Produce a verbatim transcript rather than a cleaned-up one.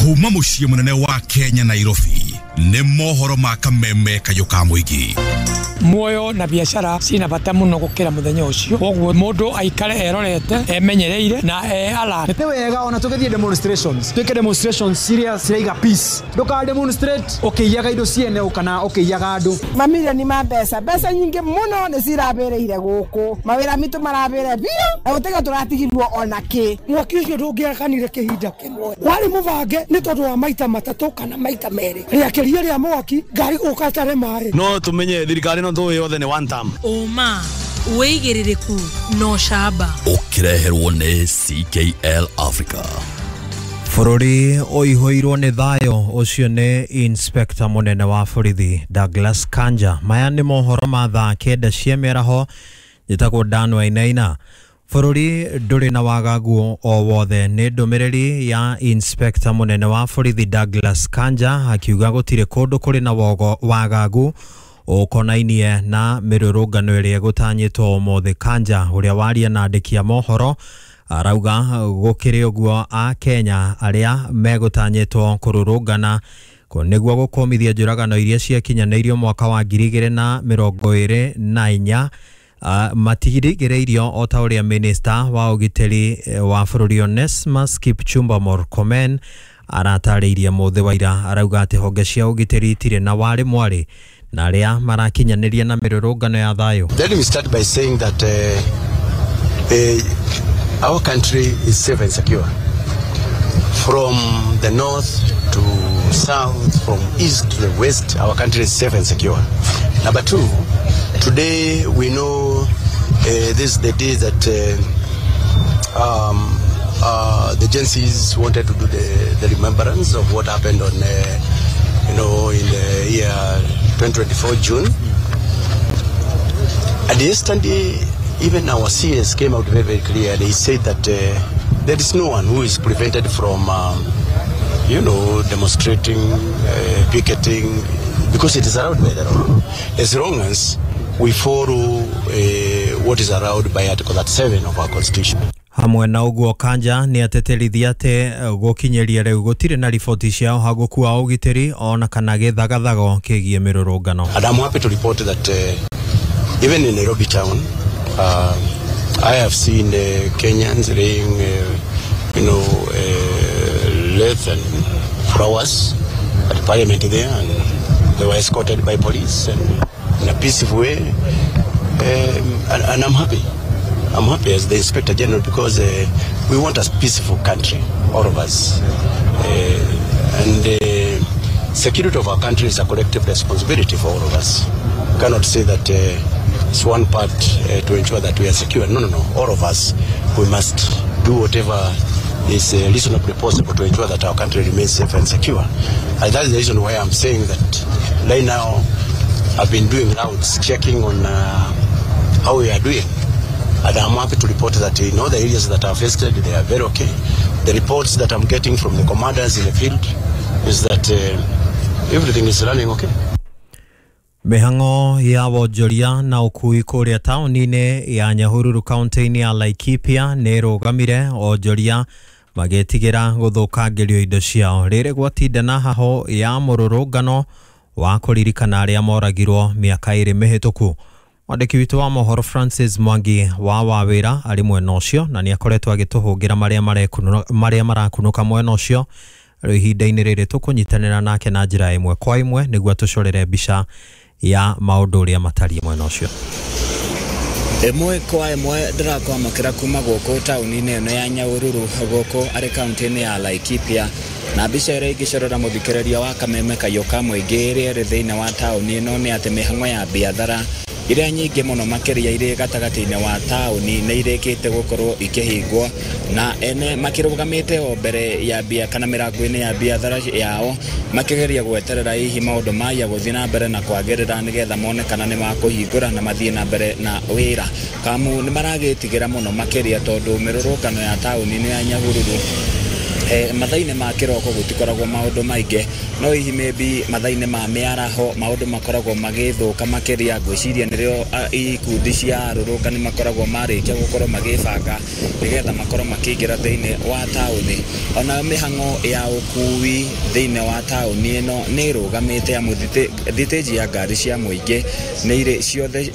Kuma muciĩ munene wa Kenya Nairobi nĩ mohoro ma kameme kayũ ka mũingĩ. Muoyo na biacara cina bata muno gukira muthenya ucio, koguo mundu aikare erorete emenyereire na e alert. Nĩ wega ona tũgĩthiĩ demonstrations, twĩke demonstrations serious ciraiga peace, ndũka demonstrate ũkĩiyaga indo ciene kana ũkĩiyaga andũ. Mamirioni ma mbeca, mbeca nyingĩ mũno nĩ cirabĩrĩire gũkũ, mawĩra mitũ marabĩre biũ na gũtiga tũratigirwo ona kĩ. Mwaki ũcio ndũngĩakanire kĩhinda kĩmwe, warĩ mũbange nĩ tondũ wa maita matatũ kana maita merĩ, rĩakĩria rĩa mwaki ngari gũka tare maĩ. No tumenye thirikari no tũĩ yothe nĩ one term. Ũma wĩigĩrĩrĩku no camba ũkĩreherwo nĩ C K L Africa. Bũrũri ũihũirwo nĩ thayũ. Ũcio nĩ Inspector mũnene wa borithi Douglas Kanja. Maya nĩ mohoro ma thaa kenda cia mĩaraho. Njĩtagwo Dan Wainaina. Bũrũri ndũrĩ na wagagu o wothe nĩ ndũmĩrĩri ya Inspector mũnene wa borithi Douglas Kanja akiuga gũtirĩ kũndũ kũrĩ na wagagu ũkonainie na mĩrũrũngano ĩrĩa ĩgũtanyĩtwo ũmũthĩ. Kanja ũrĩa waria na andĩki a mohoro arauga gũkĩrĩ ũguo a Kenya arĩa megũtanyĩtwo kũrũrũngana nĩguo gũkũmithia njũragano iria ciakinyanĩirio mwaka wa ngiri igĩrĩ na mĩrongo ĩrĩ na inya Uh, matigirĩirio o ta ũrĩa minista wa ũgitĩri wa bũrũri Onesmus Kipchumba Murkomen aratarĩirie mũthĩ wa ira. Arauga atĩ honge cia ũgitĩri itirĩ na warĩ mwarĩ na arĩa marakinyanĩria na mĩrũrũngano ya thayũ. Let me start by saying that uh, uh, our country is safe and secure. From the north to south, from east to the west, our country is safe and secure. Number two, today we know uh, this is the day that uh, um, uh, the Gen Zs wanted to do the, the remembrance of what happened on, uh, you know, in the year twenty twenty-four June. And yesterday, even our C S came out very, very clear. They said that uh, there is no one who is prevented from, um, you know, demonstrating, uh, picketing, because it is allowed by the law. As long as we follow uh, what is allowed by Article thirty-seven of our Constitution. Hamwe na ũguo Kanja nĩ ateterithia atĩ gũkinyĩria rĩu gũtirĩ na riboti cia ũhagũku wa ũgitĩri ona kana gĩthagathago kĩgiĩ mĩrũrũngano. And I'm happy to report that uh, even in Nairobi town, uh, I have seen uh, Kenyans laying, uh, you know, uh, wreath and flowers at the parliament there, and they were escorted by police and in a peaceful way, um, and, and I'm happy. I'm happy as the Inspector General because uh, we want a peaceful country, all of us. Uh, and the uh, security of our country is a collective responsibility for all of us. We cannot say that uh, it's one part uh, to ensure that we are secure. No, no, no. All of us, we must do whatever is uh, reasonably possible to ensure that our country remains safe and secure. And that's the reason why I'm saying that right now I've been doing rounds, checking on uh, how we are doing. And I'm happy to report that in all the areas that are affected, they are very okay. The reports that I'm getting from the commanders in the field is that uh, everything is running okay. Mĩhang'o ya wonjoria na ũkui kũrĩa taũni-inĩ ya Nyahururu kaunti-inĩ ya Laikipia nĩ ĩrũgamire, onjoria magĩtigĩra gũthũkangĩrio indo ciao rĩrĩ gwatinda na haho ya mũrũrũngano wa kũririkana arĩa moragirwo mĩaka ĩrĩ mĩhĩtũku. Mwandĩki witũ wa mohoro Francis Mwangi wa Wawĩra arĩ mwena ũcio na nĩ akoretwo agĩtũhũngĩra marĩa marakunũka mwena ũcio. Rĩu ihinda-inĩ rĩrĩ tũkũnyitanĩra nake na njĩra ĩmwe kwa ĩmwe nĩguo tũcorere mbica ya maũndũ ũrĩa matariĩ mwena ũcio. Ĩmwe kwa ĩmwe ndĩrakwamũkĩra kuma gũkũ taũni-inĩ ĩno ya Nyahururu gũkũ arĩ kaunti-inĩ ya Laikipia, na mbica ĩrĩa ĩngĩcorera mũthikĩrĩria wa kameme kayũ ka mũingĩ ĩrĩa ĩrĩ thĩinĩ wa taũni ĩno nĩ atĩ mĩhang'o ya biathara iria nyingĩ mũno makĩria irĩ gatagatĩ-inĩ wa taũni nĩ irĩkĩte gũkorwo ikĩhingwo na ene makĩrũgamĩte o mbere ya bia kana mĩrango-inĩ ya biathara yao makĩgeria gweterera hihi maũndũ maya gũthiĩ na mbere na kwagĩrĩra nĩgetha mone kana nĩ makũhingũra na mathiĩ na mbere na wĩra. Kamu nĩ maragĩtigĩra mũno makĩria tondũ mĩrũrũngano ya taũni-inĩ ya Nyahururu Eh, mathaa-inĩ ma kĩroko gũtikoragwo maũndũ maingĩ, no hihi maybe mathaa-inĩ ma mĩaraho maũndũ makoragwo magĩthũka makĩria. Ngwĩciria nĩrĩo ah, ikundi cia arũrũngani makoragwo marĩkia gũkorwo magĩbanga nĩgetha makorwo makĩingĩra thĩinĩ wa taũni. Ona mĩhang'o ya ũkui thĩinĩ wa taũni ĩno nĩ ĩrũgamĩte, amu thitĩnji ya ngari cia mũingĩ nĩ irĩ ciothe.